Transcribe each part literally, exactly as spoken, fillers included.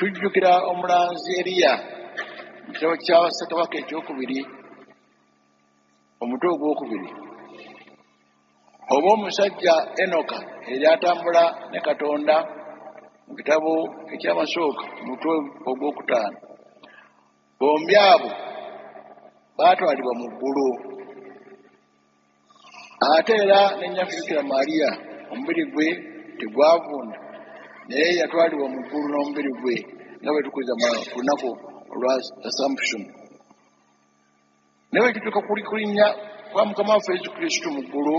Tujjukira omulanzi Eriya mu kitabo kya Ssekabaka ekyokubiri, omutwe ogwokubiri, oba omusajja Enoka eyali atambula ne Katonda mu kitabo ekyamasooka, omutwe ogwokutaano. Bombi abo baatwalibwa mu ggulu. Ate era ne nnyaffe Bikira Mariya, omubiri gwe tegwavunda, naye yatwalibwa mu ggulu n'omubiri gwe, nga bwe tukuza ku lunaku olwa Assumption. Naye bwe kituuka ku kulinnya kwa Mukama waffe Yesu Kristo mu ggulu,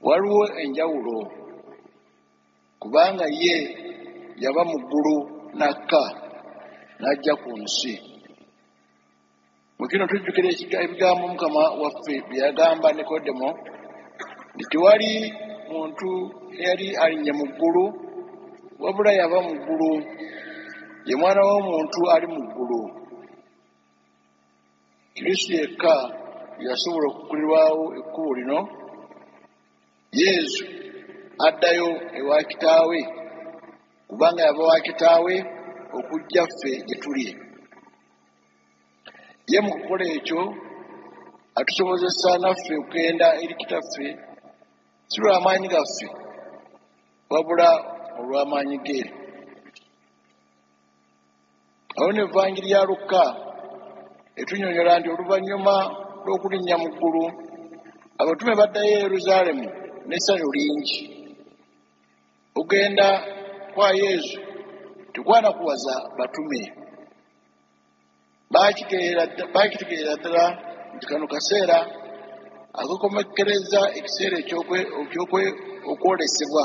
waliwo enjawulo, kubanga ye yava mu ggulu n'akka n'ajja ku nsi. Mu kino tujjukira ebigambo Mukama waffe bye yagamba Nikodemo nti tewali muntu eyali alinnye mu ggulu, wabula yava mu ggulu, ye Mwana w'Omuntu ali mu ggulu. Kristo yekka yasobola okuggulirwawo ekkubo lino. Yesu addayo ewa Kitaawe, kubanga yava wa Kitaawe okujja ffe gye tuli. Ye mu kukola ekyo atusobozesa naffe okugenda eri Kitaffe, si lw'amaanyi gaffe, wabula olw'amaanyi ge. Awo ne Evangiri ya Lukka etunnyonnyola nti oluvannyuma lw'okulinnya mu ggulu, abatume baddayo e Yerusaalemu n'essanyu lingi. Okugenda kwa Yesu tekwanakuwaza batume. Baakitegeera ddala nti kano kaseera akakomekkereza ekiseera eky'okwolesebwa,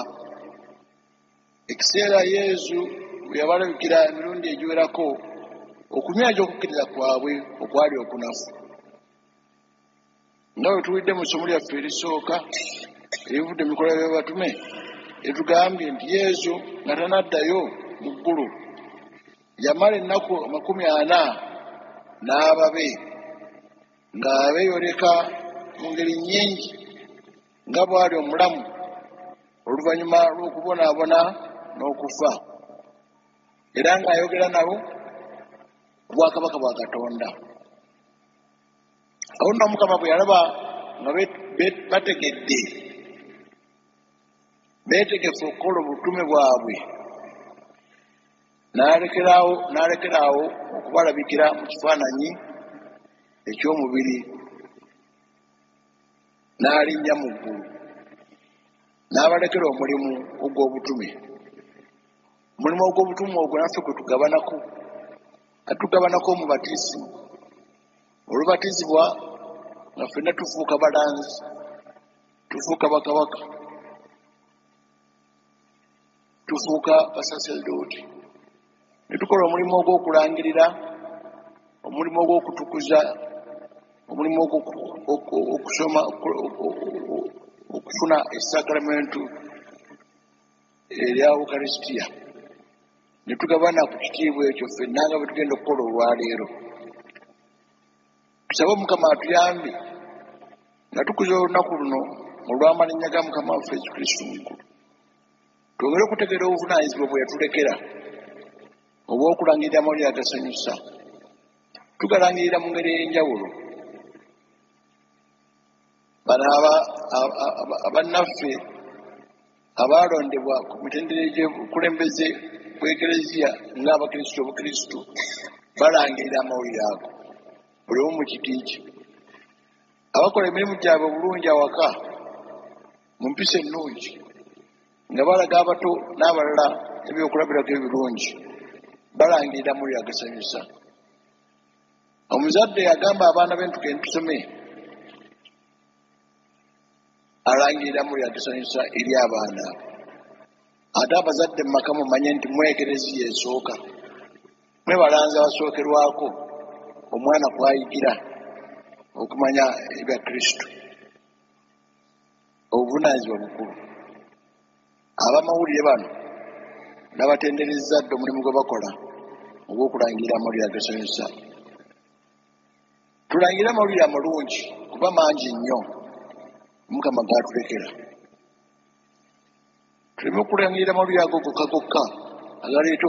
ekiseera Yesu bwe yabalabikira emirundi egiwerako okunyweza okukkiriza kwabwe okwali okunafu. Nga bwe tuwulidde mu ssomo lyaffe erisooka erivudde mu bikolwa by'abatume, etugambye nti Yesu nga tanaddayo mu ggulu yamala ennaku amakumi ana n'ababe, ng'abeeyoleka mu ngeri nnyingi nga bw'ali omulamu oluvannyuma lw'okubonaabona n'okufa, era ng'ayogera nabo ku bwakabaka bwa Katonda. Awo nno Omukama bwe yalaba nga bategedde, beetegefu okukola obutume bwabwe, n'alekeraawo okubalabikira mu kifaananyi eky'omubiri, n'alinnya mu ggulu, n'abalekera omulimu ogw'obutume. Omulimu ogw'obutume ogwo naffe kwe tugabanako, atugabanako omubatisimu. Olubatizibwa nga ffenna tufuuka balanzi, tufuuka bakabaka, tufuuka basaserdooti, ne tukola omulimu ogw'okulangirira, omulimu ogw'okutukuza, omulimu ogw'okusoma, okufuna esakramentu erya Ukaristia, ne tugabana ku kitiibwa ekyo ffenna nga bwe tugenda okukola olwaleero. Tusabe Omukama atuyambe nga tukuza olunaku luno olw'amalinnya ga Mukama waffe Yesu Kristo mu ggulu, twongere okutegeera obuvunaanyizibwa bwe yatulekera obw'okulangirira amawulire agasanyusa. Tugalangirira mu ngeri ey'enjawulo. Bano abannaffe abaalondebwa ku mitendera egy'obukulembeze bw'Ekereziya ng'Abakristo Obukristo balangirira amawulire ago buli omu mu kiti kye. Abakola emirimu gyabwe obulungi awaka mu mpisa ennungi, nga balaga abato n'abalala ebyokulabirako ebirungi, balangirira amawulire agasanyusa. Omuzadde agamba abaana be nti tugende tusome, alangirira amawulire agasanyusa eri abaana. Ate abazadde mu maka mumanye nti mwe Ekereziya esooka, mwe balanzi abasookerwako omwana kw'ayigira okumanya ebya Kristo. Obuvunaanyizibwa bukulu. Abamawulire bano n'abatendereza dda omulimu gwe bakola ogw'okulangirira amawulire agasanyusa. Tulangire amawulire amalungi kuba mangi nnyo Omukama g'atulekera. Tuleme okulangirira amawulire ago gokka gokka agaleeta